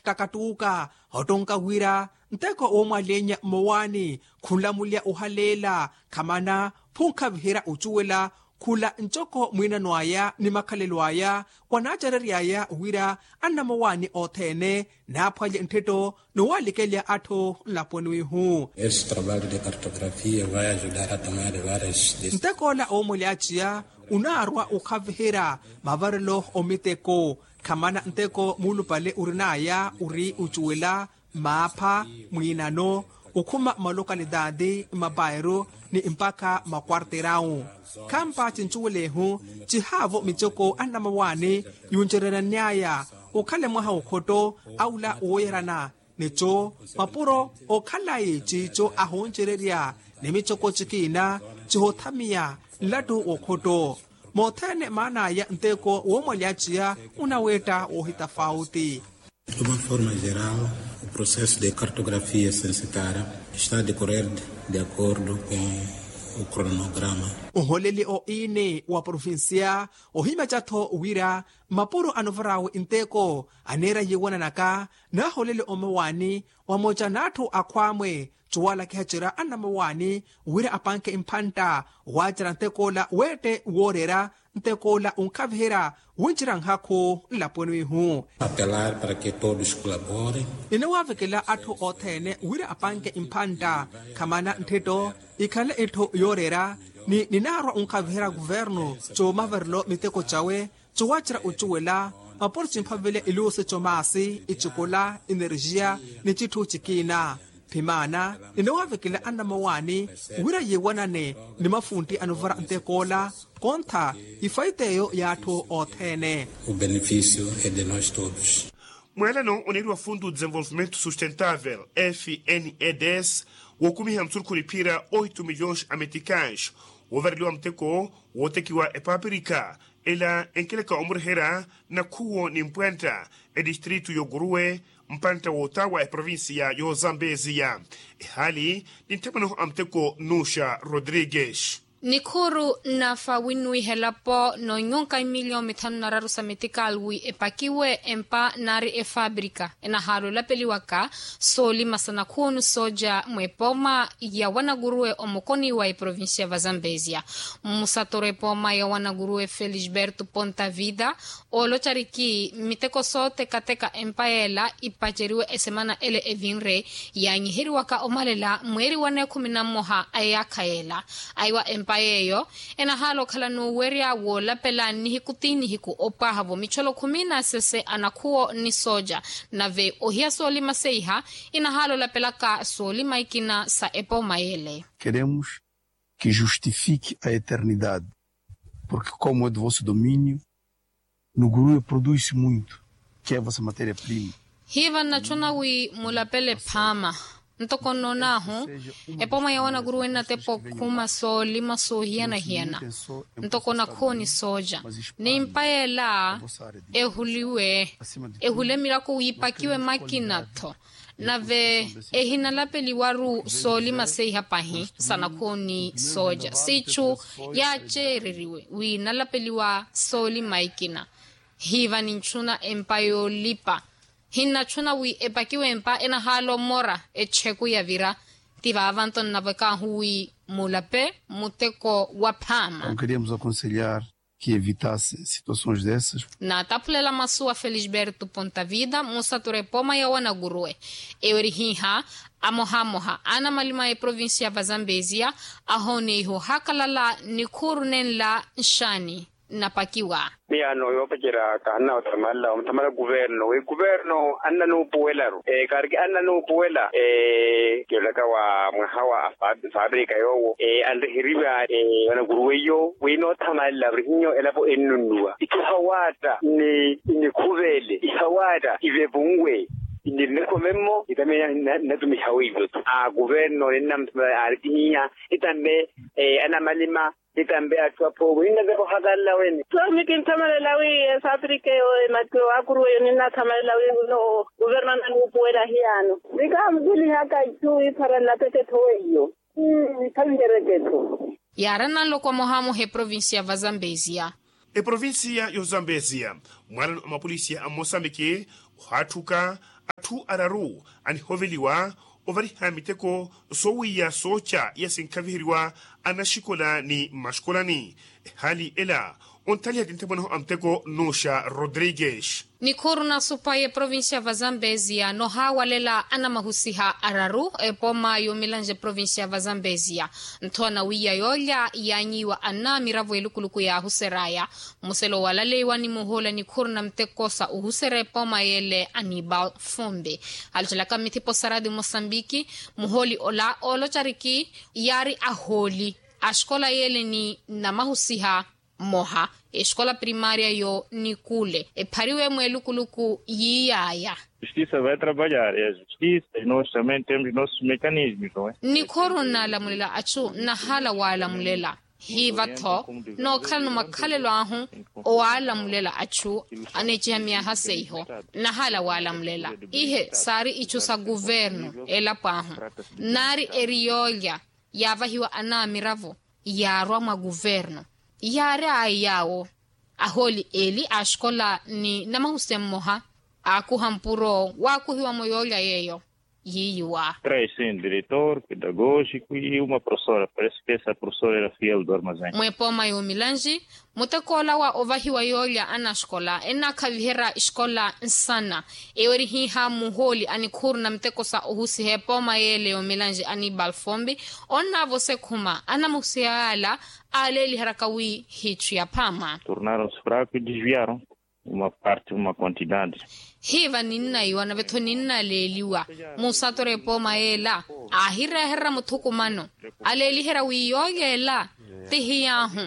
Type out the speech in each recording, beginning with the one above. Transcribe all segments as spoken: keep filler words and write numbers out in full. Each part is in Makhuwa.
Takattuuka ottonka wira nteko woomwaleenya mmowaani khunlamulya ohaleela khamana phunkhaviherya ocuwela khula ncoko mwiinano aya ni makhalelo aya. Wanaacerery'aya wira annamowaani othene naaphwalye ntthetto nowalikelya atthu nlaponi wihu. Esse trabalho de cartografia vai ajudar a tomar várias deci- ntek'ola oomwelyaciya unaarwa okhaviherya mavarelo omiteko khamana nteko muulupale orin'aya ori ocuwela maapha mwiinano okhuma malokalitaati mapairu ni mpakha makwarterawu. Khampa cincuwelehu cihaavo micoko annamawaani yuncereryanny'aya okhale mwaha okhotto awula wooyerana nico mapuro okhalayi ciico ahooncererya ni micoko cikiina cihothamiya nlattu w'okhotto. Mothene maan'aya nteko woomwalyaciya unaweetta woohitafauti. De uma forma geral o processo de cartografia censitária está a decorrer de acordo com o cronograma. Nholeli oini wa provincia ohimaca-tho wira mapuro anovar'awe nteko aneera yiiwananaka naaholeli omawaani wamoca n'atthu akhwaamwe. Cuwalakiha cira anamawaani wira apanke mphantta waacerya ntek'ola weette wooreera ntek'ola onkhaviherya wincerya nhakhu nlaponi wihu. Apelar para que todos colaborem. Ninawaavekela atthu othene wira apanke mphantta khamana ntthetto ikhale etthu yooreera ni ninaarwa onkhaviherya kuvernu coomaverelo miteko cawe. Cowacerya ocuwela mapuro cimphavile iluusi comaasi icikola energia ni citthu cikiina. Phimaana ninowavekela anamawaani wira yiiwanane ni mafuntti anuvara ntek'ola kontha ifaita eyo y'atthu othene. O benefício é de nós todos. Mwelano oneeriwa fundu desenvolvimento sustentável fnedes wookumiha musurukhu niphira oito milhões a meticais woovareliwa muteko wootekiwa epapirika. Ela enkeleka omureherya nakhuwo ni mpwantta etistritu y'okuruwe mpwantta wootawa eprovincia y'ozambeziya. Ehaali ni ntthemano a muteko nuxa rodrigues. Nikhuuru nnafa winnuwiha elapo n'onyonka imiliyo mithanu na raru sa metikali wi epakiwe empa naari efaabrika enahaala olapeliwaka soolima sa nakhuwo ni sooja mwepooma ya wanakuruwe omokoni wa eprovincia va zambezia. Mmusatoro epooma ya wanakuruwe felisberto ponta vida oolocariki miteko sootekateka empa yeela ipaceriwe esemana ele evinre yaanyiheriwaka omalela mweeri wa neekhumi na mmoha a eyaakha yeela. Aiwa empa yeeyo enahaala okhala n'uwerya woolapela nihiku ti nihiku opwaha-vo micholo khumi na sese a nakhuwo ni sooja. Nave ohiya soolima seiha inahaala olapelaka soolima ikina sa epooma yeele. Queremos que justifique a eternidade, porque como é do vosso domínio, no guru produz-se muito, que é a vossa matéria-prima. Hiiva nnachuna wi mulapele phaama ntoko nnoon'ahu epooma ya wanakuruwe nnatepa okhuma soolima soohiyana-hiyana ntoko nakhuwo ni sooja. Ni mpa yeela ehuliwe ehule mirako wiipakiwe makina-tho. Nave ehinalapeliwaru soolima seiha pahi sa nakhuwo ni sooja siichu yaaceereriwe wi nalapeliwa soolima ikina. Hiiva ninchuna empa yoolipa hinnachuna wi epakiwe empa enahaala omora echeku yavira. Ti vaavanto nnavek'ahu wi mulape muteko wa phaama. Queríamos aconselhar que evitasse situações dessas. Naataphulela masu a felisberto ponta vida musatura epooma ya wanakuruwe eyo eri hiiha amohamoha anamalima a eprovincia va zambezia ahooneiha ohakalala nikhuuru nenla nxaani nnapakiwa. Miyaano yoopacerya kahanna othamala othamala kuverno wi kuverno annanuupuwelaru kaariki annanuupuwela. Kiolaka wa mwaha wa faabrika yoowo anriheriwa wanakuruweiyo wi noothamalelaru hiyo elapo ennunnuwa itthu ihawaatta ni nikhuvele ihawaatta ivevunwe. Nirina ekhome mmo nitame nnatumiha wiivo-tho a kuverno ninnamuthamala aaritihiya nitambe anamalima nitambe atthu aphoowe ninnavepa ohakalala wene. Soomi kinthamalela wi efabrika eyo emakiro aakuruwa eyo ninnathamalela wi wino kuverno ananuupuwela hiyaano. Nikaamukilihaka itthu iphara nnateketho weiyo. Niphavihereketho. Yaarana nloko amohamoha eprovincia va zambezia. Eprovincia y'ozambezia mwaalano a mapolisia a mmosambiki ohaatthuka Atthu araru anihoveliwa ovariha miteko soowiya sooca iya sinkhaviheriwa anaxikola ni mmaxikolani. Ehaali ela ontthaliha tintthemwaneho a muteko nnuxa rodrigues. Nikhuuru na supayi eprovincia va zambezia nohaawalela anamahusiha araru epooma yoomilanje eprovincia va zambezia. Nthowa nawiiya yoolya yaanyiiwa anna miravo elukuluku yaahuser'aya. Mmuselo walaleiwa ni muhooli a nikhuuru na muteko sa ohuserya epooma yeele anibal fombe. Alocelaka mmithipo saradi mosambiki muhooli ola oolocariki yaari ahooli a xikola yeele ni namahusiha mmoha exikola primaria yo nikule ephariwe mweelukuluku yiiy'aya. Justisa vai trabalhar e a justisa e nos também temos nossos mecanismos. Nikhooro nnaalamulela achu nnahaala waalamulela hiiva-tho nookhalano makhalelo ahu owaalamulela achu aneeciha myaha seiho. Nnahaala waalamulela ihe saari ichu sa kuvernu elapo ahu nnaari eri yoolya yaavahiwa anaamiravo yaarwa mwa kuvernu. Yaari ayi yaawo ahooli eli a xikola ni namahusiha mmoha aakuha mpuro waakuhiwa-mo yoolya yeeyo yiiyiwa. Trai sim diretor pedagógico e uma professora parece que essa professora era fiel do armazém. Mwepooma yoomilanji muteko ola wa ovahiwa yoolya anaxikola ennaakhaviherya ixikola nsana. Ewo erihiiha muhooli a nikhuuru na muteko sa ohusiha epooma yeele yoomilanji anibal fombi onnaavosa ekhuma anamuhusiha yaala aaleeliheryaka wi hiitthu ya phaama. Tornaram-se fraco e desviaram uma parte uma quantidade. Hiiva ninnaiwa nave-tho ninnaleeliwa musatora epooma yeela aahirehererya muthukumano aleeliherya wi yoolya ela ti hiyaahu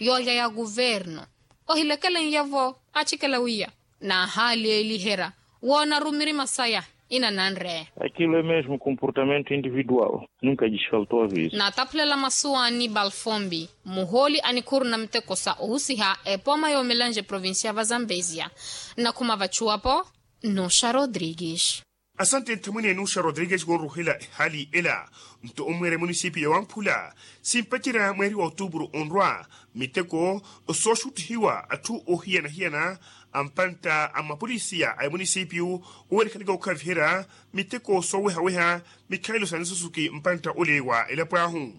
yoolya ya kuvernu. Ohilekelen'ya-vo achikela wiya naahaaleeliherya woonari mirima saya inananre. Aquilo é mesmo comportamento individual nunca lhes faltou aviso. Naataphulela masu a anibal fombi muhooli a nikhuuru na muteko sa ohusiha epooma yoomelanja eprovincia va zambezia. Nnakhuma vachuwapo nuxa rodrigues. Asante nthamwene nuxa rodrigues konruhela ehaali ela. Nto omweera emunisipiyu ya wamphula simpacerya mweeri wa otuupuru onrwa miteko sooxuttihiwa atthu oohiyana-hiyana a mpantta a mapolisiya a emunisipiyu owerikhaleke okhaviherya miteko sooweha-weha mikhalelo sa nisusuki mpantta ole wa elapo ahu.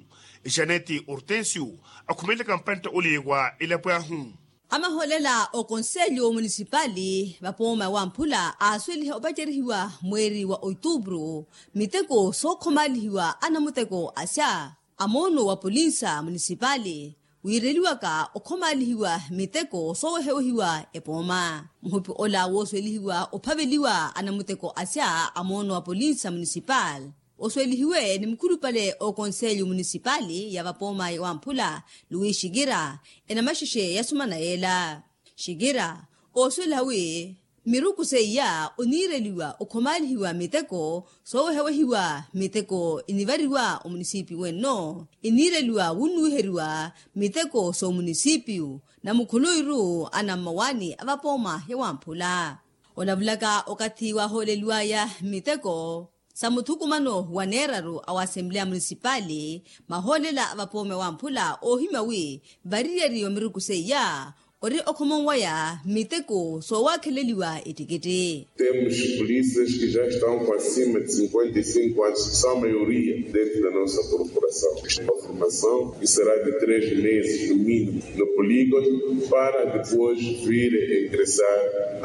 Janete hortensio akhumelelaka mpantta ole wa elapo ahu. Amahoolela okonselyo munisipali vapooma wamphula aasweliha opacerihiwa mweeri wa otuupuru miteko sookhomaalihiwa anamuteko asya a moono wa polinsa munisipali wiireliwaka okhomaalihiwa miteko soowehewehiwa epooma. Muhupi ola wooswelihiwa ophaveliwa anamuteko asya a moono wa polinsa munisipali oswelihiwe ni mukhulupale okonselyo munisipali ya vapooma wamphula luwi xikira enamaxexe yasumana yeela. Xikira ooswela wi miruku seiya oniireliwa okhomaalihiwa miteko soowehawehiwa miteko enivariwa omunisipiyu wenno eniireliwa wunnuwiheriwa miteko soomunisipiyu na mukhuluwiru anammawaani a vapooma ya wamphula. Onavulaka okathi waahooleliwaya miteko sa muthukumano wa neeraru a wa assembleya munisipali mahoolela a vapoome wamphula oohimya wi variyeri wa miruku seiya ori okhomonwaya miteko soowakheleliwa ettikitti. Temos polícias que já estão com acima de cinquenta e cinco anos que são a maioria dentro da nossa corporação. Uma formação que será de três meses no mínimo no polígono para depois vir a ingressar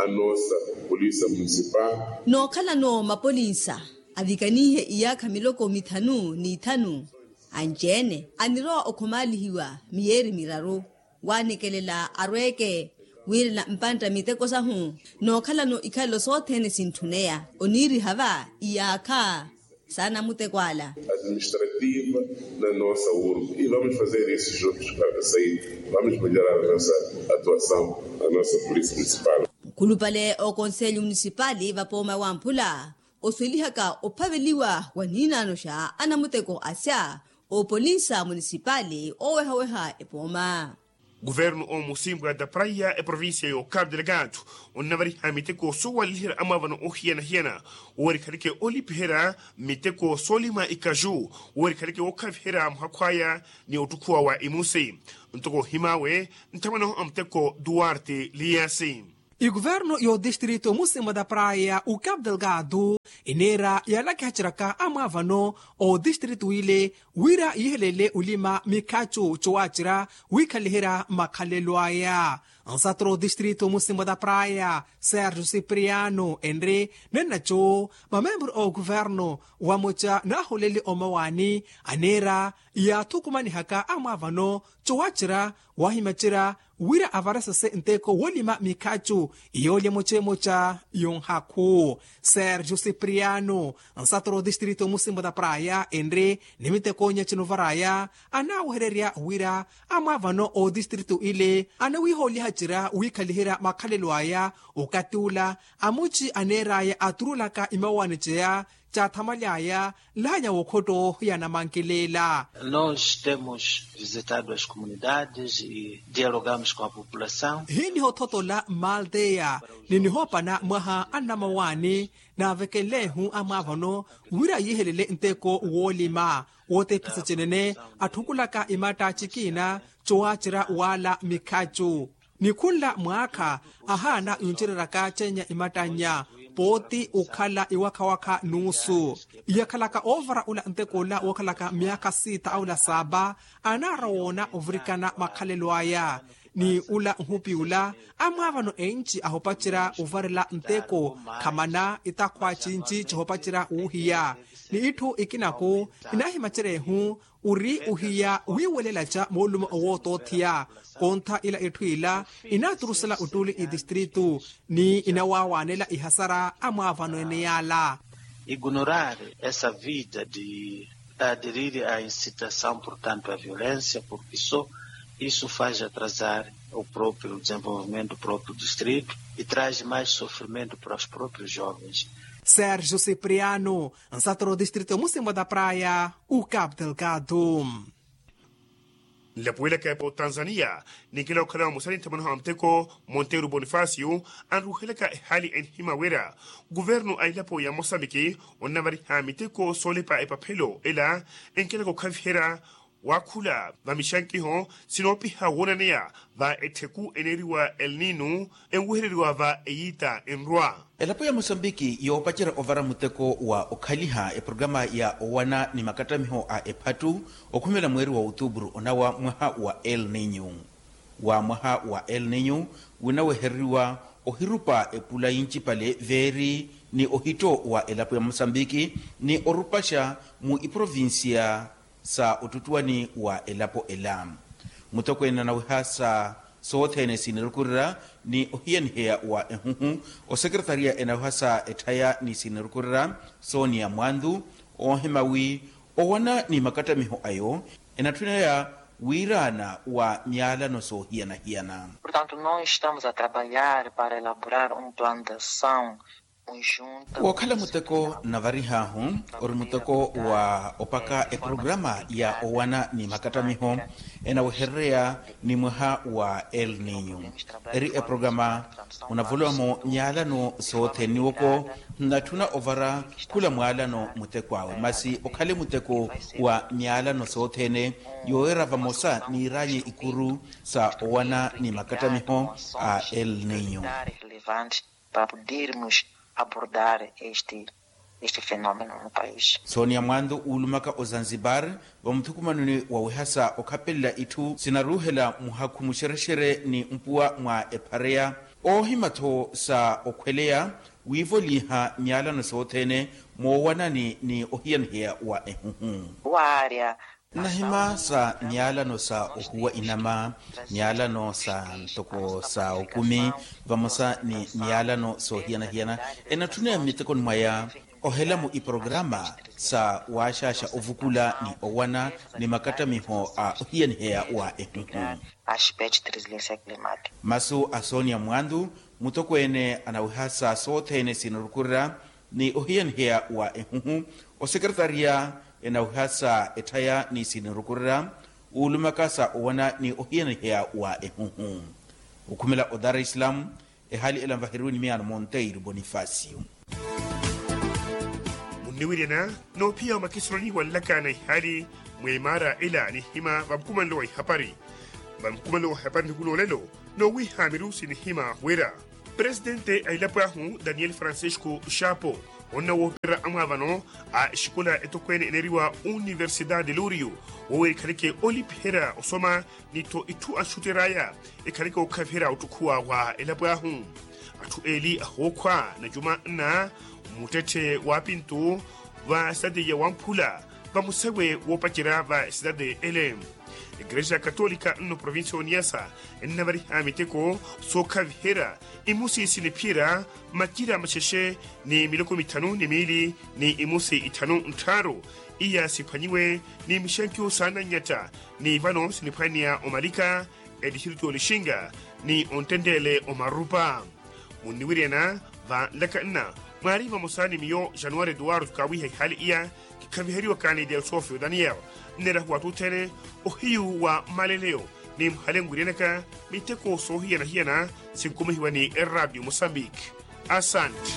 a nossa polícia municipal. Nookhalano mapolinsa avikanihe iyaakha miloko mithanu n'ithanu anci-ene anirowa okhomaalihiwa miyeeri miraru waanikelela arweeke wiirela mpantta miteko sahu. Nookhalano ikhalelo sothene sintthuneya oniiriha va iyaakha saana muteko ala. Administrativa na nossa urbe e vamos fazer isso juntos para sair vamos melhorar a nossa atuação a nossa polícia municipal. Mukhulupale okonselyo munisipali vapooma wamphula oswelihaka ophaveliwa wa niinaano xa anamuteko asya oopolinsa munisipali oowehaweha epooma. Kuvernu omusimbwa da praiya eprovincia y'okapu delegado onnavariha miteko soowaleliherya amwaavano ohiyana-hiyana wowerikhaleke olipiherya miteko soolima ikaju wowerikhaleke wookhaviherya muhakhu aya ni ottukhuwa wa imusi. Ntoko ohimawe nthamwanahu a muteko duarte liyasi. Ikuvernu y'otistrito musimwa da praya ukapdelgado iniira yaalakihaceraka amwaavano otistrito ile wira yihelele olima mikhacu cowacira wikhaliherya makhalelo aya. Nsaturo otistrito musimwa da praya sergio cipriano enri nennaco mamemburu a okuvernu wamuca naaholeli omawaani aniira yaathukumanihaka amwaavano cowacira wahimacerya wira avaresese nteko wolima mikhacu yoolya emocemoca yonhakhu. Sergio cipriano nsaturo otistrito musimbo da praya enri ni mitekonya cinovaraya anaawehererya wira amwaavano otistrito ile anawiihoolihacerya wiikhaliherya makhalelo aya okati ula amuci aneeraya aturulaka imawaani ceya caathamaly'aya nlaanya w'okhotto ya namankileela. Nos temos visitado as comunidades e dialogamos com a população. Hiiniha othotola mmalteya ni nihoopana mwaha a nnamawaani naavekenlehu amwaavano wira yiihelele nteko woolima wootephisa cinene atthukulaka imatta cikina cowaacerya waala mikhacu. Ni khunla mwaakha ahaana yuncereryaka cenya imattannya pooti okhala iwakhawakha nuusu. Iyakhalaka oovara ula nteko ola wookhalaka myaakha siita aula saaba anaara woona ovirikana makhalelo aya ni ula nhupi ula amwaavano enci ahopacerya ovarela nteko khamana itakhwa cinci cihopacerya wuuhiya ni itthu ikinaku inaahimacerya ehu ori ohiya wiiwelelaca moolumo owootootheya. Kontha ila itthu ila inaaturusela ottuli itistritu ni inawaawaanela ihasara amwaavano ene yaala. Ignorar essa vida de aderir a incitação portanto a violencia porki so isso faz atrasar o proprio desenvolvimento proprio distrito e traz mais sofrimento para os proprios jovens. Sergio cipriano nsaturo distrito musimbwa da praya ucap delgado. Nlapuwelaka epa otanzania ninkela okhala vamosa ni nthamwanaho a muteko monteiro bonifacio anruhelaka ehaali enihima wira guvernu a elapo ya mosambiki onnavariha miteko soolepa epaphelo ela enkelaka okhaviherya waakhula va mixankiho sinoopiha woonaneya va ettheku eneeriwa elnino enwehereriwa va eyiita enrwa. Elapo ya mosambiki yoopacerya ovara muteko wa okhaliha eprograma ya owana ni makattamiho a ephattu okhumela mweeri wa outuburu onawa mwaha wa elnino wa mwaha wa elnino winawehereriwa ohirupa epula yincipale veeri ni ohitto wa elapo ya mosambiki ni orupaxa mu iprovincia sa ottuttuwani wa elapo ela. Mutokweene anaweha sa sothene sinirukurira ni ohiyaniheya wa ehuhu osekretariya enaweha sa etthaya ni sinirukurira sonia mwantu oohima wi owana ni makattamiho ayo enatthunaya wiiraana wa myaalano soohiyana-hiyana. Portanto nós estamos a trabalhar para elaborar um plano de ação conjunta. Wookhala muteko nnavarihaahu ori muteko wa opaka eprograma ya owana ni makattamiho enaweherereya ni mwaha wa elnino eri eprograma onavolowa-mo myaalano sothene niwoko nnatthuna ovara khula mwaalano muteko awe masi okhale muteko wa myaalano sothene yooyera vamosa niiraanyi ikuru sa owana ni makattamiho a elnino. Para podermos abordar este este fenomeno no país. Sonia mwantu uulumaka ozanzibar vamuthukumanoni wawehasa okhapelela itthu sinaruuhela muhakhu muxerexere ni mpuwa mwa ephareya oohima-tho sa okhweleya wiivoliha myaalano sothene moowanani ni ohiyaniheya wa ehuhu. Waarya nnahima sa myaalano sa ohuwa inama myaalano sa ntoko sa okumi vamosa ni myaalano soohiyana-hiyana enatthuna ya mmitekoni mwaya ohela-mo iprograma sa waaxaaxa ovukula ni owana ni makattamiho a ohiyaniheya wa ehuhu. Aspecto de resiliência climática masu a sonia mwantu mutokweene anaweha sa sothene sinarukurira ni ohiyaniheya wa ehuhu osekretariya enaweha sa etthaya ni sinirukurira uulumaka sa owana ni ohiyaniheya wa ehuhu okhumela o dar es salaam. Ehaali ela nvaheriwe ni miyaano monteiro bonifacio. Munniwiryana noophiya omakisulani wanlaka na ihaali mweemaara ela nihima vamukumanelo wa ihapari vamukumanelo wa ihapari nihikuloolelo noowiha mirusi nihima wira Presitente a elapo ahu daniel francisco xapo, onna woopererya amwaavano a exikola etokweene eneeriwa universidade lurio, woowerya ekhaleke olipiherya osoma ni-tho itthu axutter'aya, ekhaleke ookhaviherya ottukhuwa wa elapo ahu. Atthu eeli ahookhwa na juma nna muttetthe wa pintu va sitade ya wamphula, va musewe woopacerya va sitade ele. Ekerexa katolika nno provincia ya oniasa ennavariha miteko sookhaviherya imusi siniphiyerya macira maxexe ni miloko mithanu ni miili ni imusi ithanu nttharu, iya siphwanyiwe ni mixenkyo saananyatta ni vano siniphwaneya omalika etixiriti olixinga ni onttenttele omarupa. Munniwiryana va nlaka nna mwaari vamosa ni miyo januwari eduwardo kaawiiha ihaali iya kikhaviheriwaka ni delsofio daniel. Nneerahuwa tuthene ohiyu wa mmaleleyo ni muhale nwiryanaka miteko soohiyana-hiyana sinkumihiwa ni eradio mosambiki. Asanti.